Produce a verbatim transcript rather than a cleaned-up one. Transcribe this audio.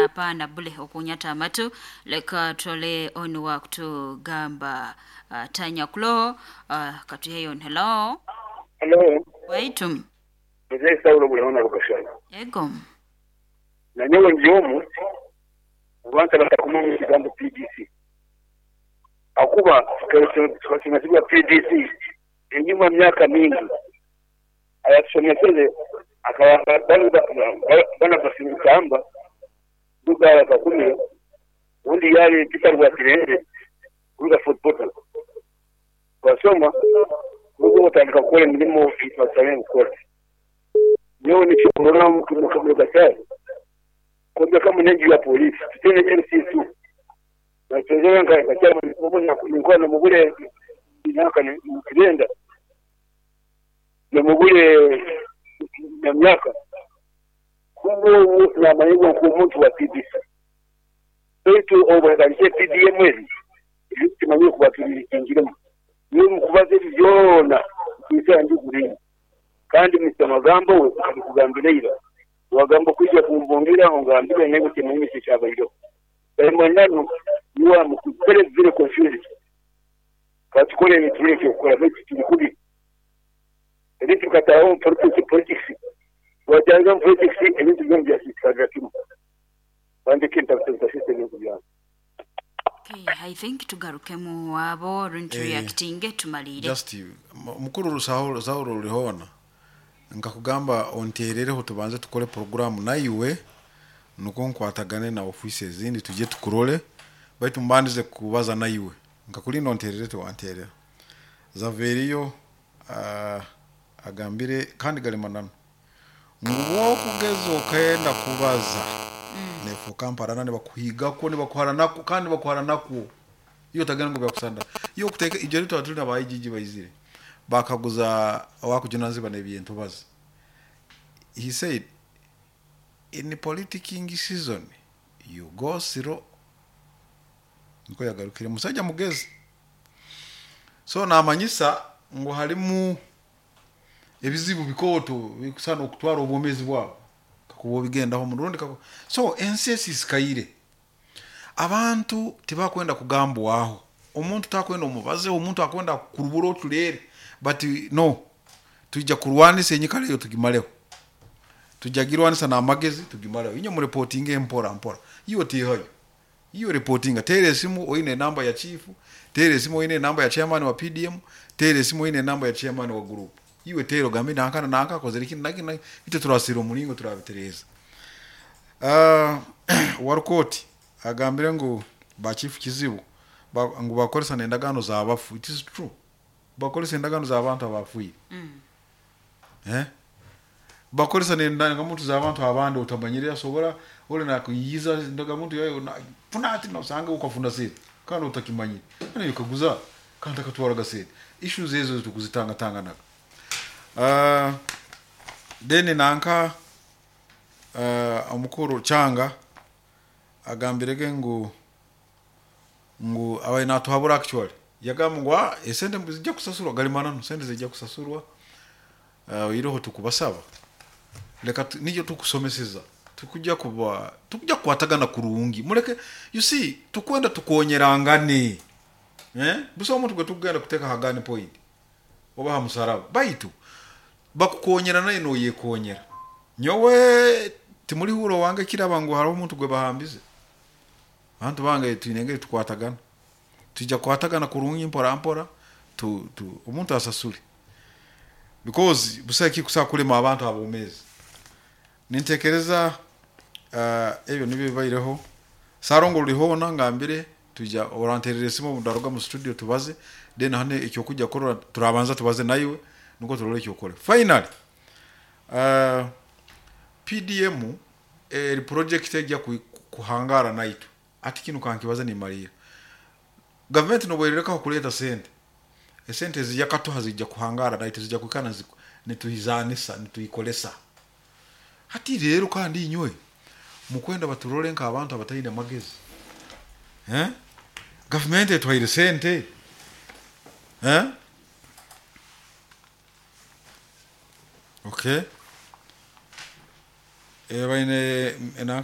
Hapana bule okunyata amatu. Leka tole onu wa kutugamba uh, tanya kuloho uh, katuheyo. Hello. Hello. Waitu. Mzee Saulo Bulihona Rukashana. Ego. Na nyowe ndi omu abantu batakumanya ekigambo P D C. Akuba tukasomesibwa P D C enyuma myaka mingi. Ayatusomeseze akaba bana basimukamba duga bakakumira undi yali Peter Rwakirende kuruga Fort Portal. Twasoma kuruga batandika gukora emirimo itwasabye gukora. Nyowe nikikurora mu Rukashana. Kwanza kama nengi ya polisi tutene M C two na tuzera nka kachama mbona nilikuwa na mugule miaka ni kirenda na mugule na miaka kumbe na maneno kwa mtu wa P D C wetu obwakalishe P D M ezi tumanyo kwa kingiremo ni mkubaze byona kisa ndi kuri kandi Mister Magambo we kugambira wagambo kuja kumbongira ongambira nego kimimi cyabairo bamwanano you are very very confused katukole ni tuleke kukora beti tulikubi ebintu kataho politics politics wajanga politics ebintu byo byasikaga kimu bande kinta kutoka system yo bya. Okay, I think tugarukemu wabo runtu Eh, reacting tumalire just mukuru rusaho Saulo Rulihona nkakugamba onterereho tubanze tukore programu naiwe nuko nkwatagane na office ezindi tujye tukurole baitu mbandize kubaza naiwe nkakulinda onterere tewanterera Zaveriyo uh, agambire kandi galimanano nguwo kugeza okenda kubaza mm. Nefo kamparana nibakuhigako nibakuharanako kandi bakuharanako iyo tagenda ngo byakusanda iyo kuteka ibyo rito tuli nabayijiji bayizire bakaguza wakujuna ziba nebintu baza. He said in politicking season you go slow. Niko yagarukire musajja mugezi so namanyisa ngo halimu ebizibu bikoto bikusana okutwara obwomezi bwabo kakubo bigendaho mu rundi kako so N C S isikaire abantu tibakwenda kugambwaho omuntu takwenda omubaze omuntu akwenda kurubura otulere but no tujja kurwanisa enyikara eyo tugimaleho tujja girwanisa n'amagezi tugimaleho inyo mu reporting empora mpora iyo tihayo iyo reporting tere esimu oine namba ya chief tere esimu oine namba ya chairman wa P D M tere esimu oine namba ya chairman wa group iwe tero gambe nankana nanka kozere kini naki ite turasira omulingo turabitereza. Uh, warukoti agambire ngu ba chief kizibu ba, ngu bakoresa n'endagaano z'abafu. It is true, bakoresa endagaano z'abantu abafuire mm. Eh bakoresa n'endagamuntu z'abantu abandi otamanyire asobora ole nakuyiza ndagamuntu yayo na funa ati nosanga ukafuna sente kandi utakimanyire kandi ukaguza kandi akatwara gasente issues ezo tukuzitanga tanganaga. Uh, then nanka uh, omukuru Changa agambirege ngu ngu abaye natuhabura actually yagamba ngu esente zijja kusasurwa galimanano sente zijja kusasurwa uh, iroho tukubasaba leka niyo tukusomeseza tukujja kuba tukujja kwatagana kurungi muleke you see tukwenda tukonyerangane eh buso omuntu gwe tugenda kuteka hagani point oba ha musaraba baitu bakukonyera naye no yekonyera nyowe timuli huro wange kiraba ngu haro omuntu gwe bahambize abantu bange twinenge tukwatagana tujja kwatagana kurungi mpora mpora tu, tu omuntu asasule because busaki kusakulema abantu abomezi nintekereza uh, ebyo nibyo bibaireho Sarongo Rulihona ngambire tujja oranterere simu mudaruga mu studio tubaze then hane ekyo kujja korora turabanza tubaze nayiwe nuko turole ekyo kore finally uh, P D M eri project ejja kuhangara naitu ati kinu kankibaza ni Maria government no bwereka kuleta sente esente zijja katuha zijja kuhangara naitu zijja kukana nituhizanisa nituikolesa hati rero kandi inywe mukwenda baturole nka abantu abatayina magezi eh government etwaire sente eh okay eh baine